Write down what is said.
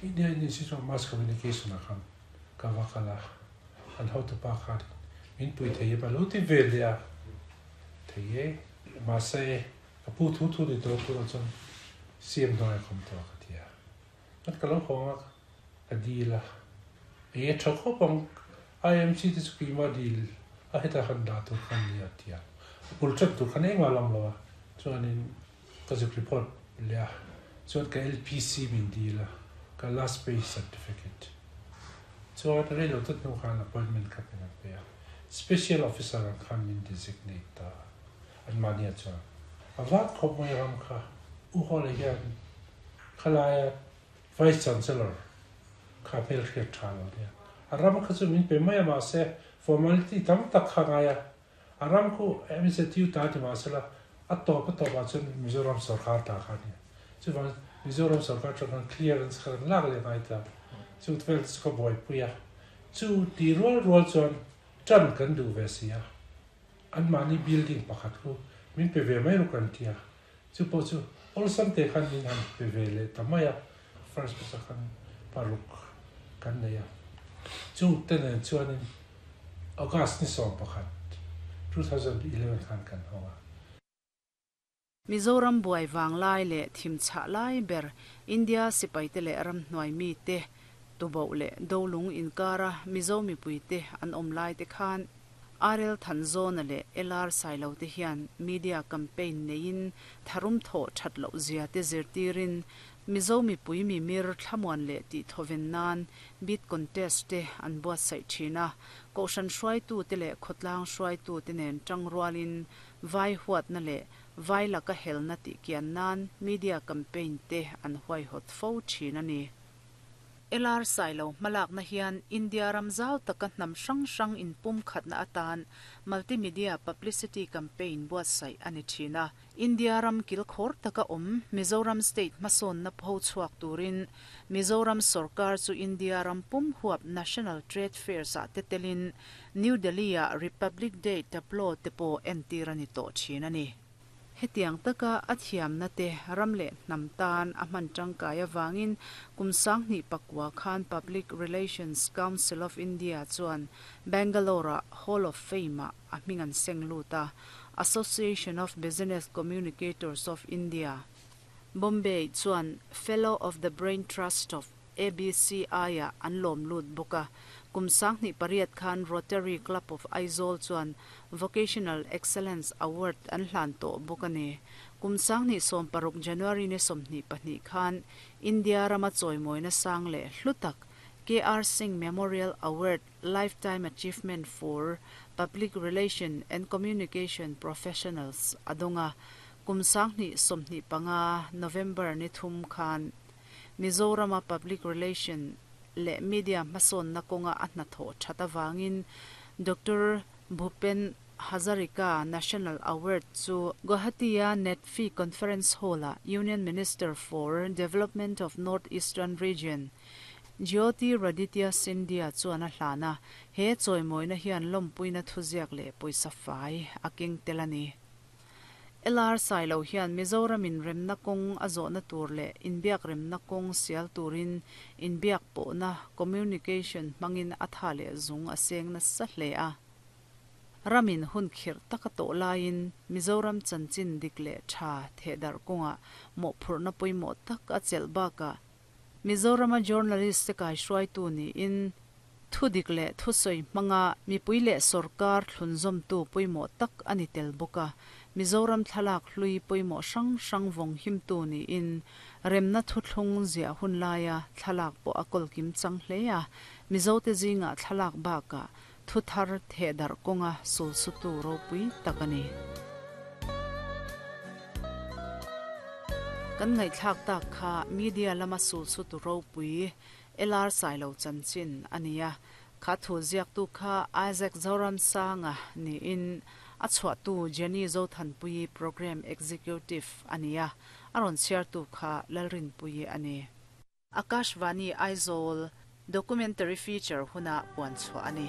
India Institute of Mass Communication ah khan ka va kal a, an hotupa khan min pui thei em a lo ti ve leh a, thei e. Mahse ka pu thu thu ni tawh turah chuan CM hnuaiah ka awm tawh a ka ti a. Chuan ka lo hawng a, ka dil a, eng e tha khawp ang, IMC te chu keimah dil a hetah khan dah tur kha an ni a ti a, a bul ṭep tur khan engmah a lam lo a, chuanin ka zuk report leh a, chuan ka LPC min dil a, ka last pay certificate chuan rei lo tawt hnu khan appointment kha min an pe a, special officer ang khan min designate ta a, anmahniah chuan a vat khawp mai ram kha U Hawley hian Khalaia Vice Chancellor kha hmelhriat tha lo nia. A ram kha chu min pe mai a mahse formality tam tak kha ngai a. A ram khu MZU ta ti mahsela a tawp a tawp ah chuan Mizoram sorkar ta kha a nia. Chuvang Mizoram sorkar atang khan clearance kha kan lak leh ngai ta. Chu vel te chu ka buaipui a. Chu ti rual rual chuan tan kan duh ve si a. Anmahni building pakhat khu min pe ve mai ru kan ti a. Chu pawh chu awlsam te khan min han pe ve leh ta mai a, first batch ah khan paruk kan nei a. Chung te nen chuanin August ni 11, 2011 khan kan hawng a. Mizoram buai vang lai leh thim chhah lai ber India sipaite leh ramhnuai mite tuboh leh dolung inkara Mizo mipuite an awm lai te khan RL Thanzawna leh LR Sailo te hian media campaign neiin tharum thawh that loh zia te zirtirin Mizo mipui mimir thlamuan leh tih thawven nan bid contest te an buatsaih thin a, Kohhran hruaitu te leh khawtlang hruaitu te nen tangrualin vai huatna leh vai laka helna tih kian nan media campaign te an huaihawt fo thin a ni. LR Sailo hmalakna hian India ram zau taka hnam hrang hrang inpumkhatna atan multimedia publicity campaign buatsaih a ni thin a. India ram kilkhawr taka awm Mizoram state hmasawnna pho chhuak turin Mizoram sorkar chu India ram pum huap National Trade Fairs ah te telin New Delhi-ah Republic Day tableau te pawh entir a ni tawh thin a ni. Hetiang taka a thiamna te ram leh hnam tan a hman tangkai avangin kum 2009 khan Public Relations Council of India chuan Bangalore-ah Hall of Fame-ah a hming an seng lut a, Association of Business Communicators of India, Bombay chuan Fellow of the Brain Trust of ABCI-ah an lawm lut bawk a. Kum 2008 khan Rotary Club of Aizawl chuan Vocational Excellence Award an hlan tawh bawk a ni. Kum 2016 January ni 22 khan India rama chawimawina sang leh hlu tak KR Singh Memorial Award Lifetime Achievement for Public Relation and Communication Professionals a dawng a. Kum 2025 November ni thum khan Mizorama public relation leh media hmasawnna kawnga a hnathawh that avangin Doctor Bhupen Hazarika National Award chu Guwahati-a NEDFi Conference Hall-ah Union Minister for Development of North Eastern Region Jyotiraditya Scindia chuan a hlan a, he chawimawina hian lawmpuina thuziak leh pawisa fai a keng tel a ni. LR Sailo hian Mizoramin remna kawng a zawhna tur leh inbiak remna kawng sial turin inbiak pawhna, communication, hmangin a tha leh zung a seng nasa hle a. Ramin hun khirh taka tawh laiin Mizoram chanchin dik leh tha thehdarh kawngah mawhphurhna pawimawh tak a chelh bakah Mizorama journalist te kaihruaitu niin Thudik leh thusawi hmanga mipui leh sorkar thlunzawmtu pawimawh tak a ni tel bawk a, Mizoram thlalak hlui pawimawh hrang hrang vawng himtu niin remna thuthlung ziah hun laia thlalak pawh a kawlkim chang hle a, Mizote zingah thlalak bakah thu thar thehdarh kawnga sulsutu ropui tak a ni. Kan ngaihthlak tak kha media lama sulsutu ropui LR Sailo chanchin a ni a, kha thu ziaktu kha Isaac Zoramsanga niin a chhuahtu Jenny Zothanpuii Programme Executive a ni a, a rawn chhiartu kha Lalrinpuii a ni. Akashvani Aizawl Documentary Feature huna puan chhuah a ni.